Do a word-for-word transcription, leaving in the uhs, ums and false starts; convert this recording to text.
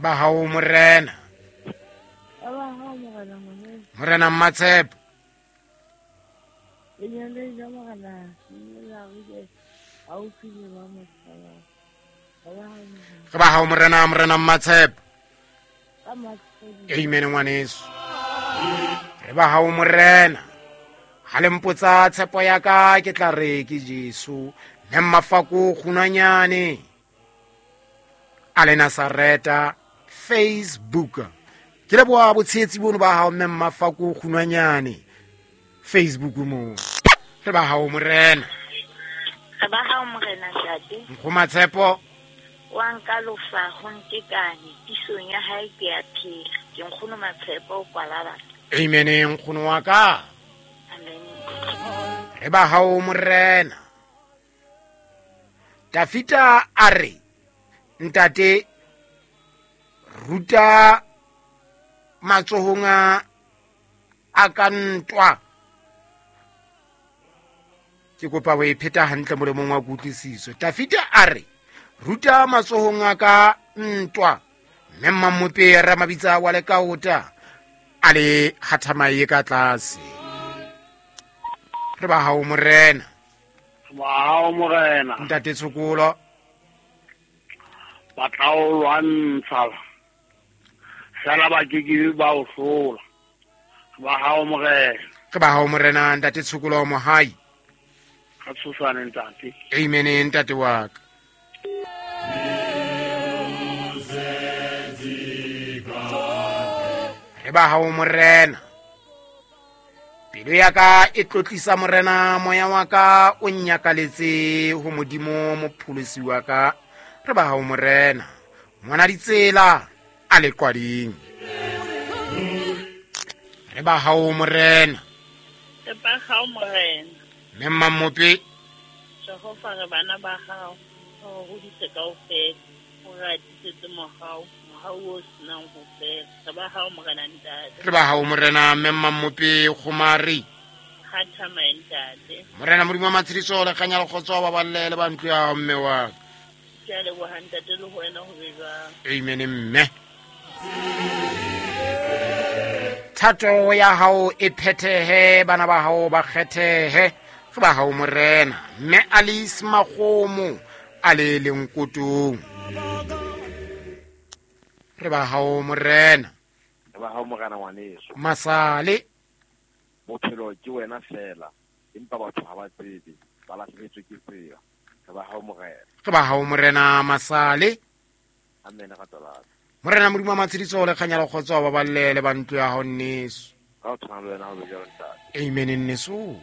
Ba hao morena. Ba hao morena ngwaneso. Morena Mmatshepo. Lenyaleng la morena le la re haufi le ba mo tshabang. Re ba hao morena morena Mmatshepo. Amen ngwaneso. Re ba hao morena. Ha le mpotsa tshepo ya ka ke tla re ke Jesu. Mme Mafako Kgunwanyane a le Nazareta Facebook. Ke leboha botshehetsi bono ba hao mme Mafako Kgunwanyane Facebook mo. Re ba hao morena. Re ba hao morena ntate. Nkgoma Tshepo. Wa nka lofa ho ntekane tisong ya hae ke a phela. Ke nkgono Matshepo o kwala batho. Amen nkgono wa ka. Amen. Re ba hao morena. Tafita a re ntate ruta matsohong a ka ntwa. Ke kopa o e pheta hantle molemong wa kutlwisiso. Tafita a re ruta matsohong a ka ntwa. Mme Mmamope Ramabitsa wa Lekaota a le hathamaye ka tlase. Re ba hao morena. Ba hao morena. Ntate Tshokolo. Ba tla o lwantsha. Fela ba ke ke ba o hlola. Ba hao morena. Re ba hao morena ntate Tshokolo Mohai. Ka tshosane ntate. Amen ntate wa ka. Re ba hao morena. Pelo ya ka e tlotlisa morena, moya wa ka o nnyakaletse ho Modimo mopholosi wa ka. Re ba hao morena. Ngwana ditsela a le qwading. Re ba hao morena. Re ba hao morena. Mme Mmamope. Jehova re bana ba hao. O hodise kaofela. O re atisetse mohau. Mohau o senang ho fela. Re ba hao morena ntate. Re ba hao morena mme Mmamope Kgomari. Kgathama ntate. Morena Modimo wa matshediso le kganya le kgotso ba balle le ba ntlo ya hao mme wa ka. Ke a leboha ntate le ho wena ho be jwang. Amen mme. Thato ya hao e phethehe, bana ba hao ba kgethehe. Re ba hao morena. Mme Alice Makgomo a le lenkotong. Re ba hao morena. Re ba hao morena ngwaneso. Masale. Bophelo ke wena fela, empa batho ha ba tsebe, ba lahlehetswe ke tsela. Re ba hao morena. Re ba hao morena Masale. Amen ratolana. Morena Modimo wa matshediso le kganya le kgotso ba balle le ba ntlo ya hao nneso. Ka o tshwana le wena ho be jwalo ntate. Amen nneso.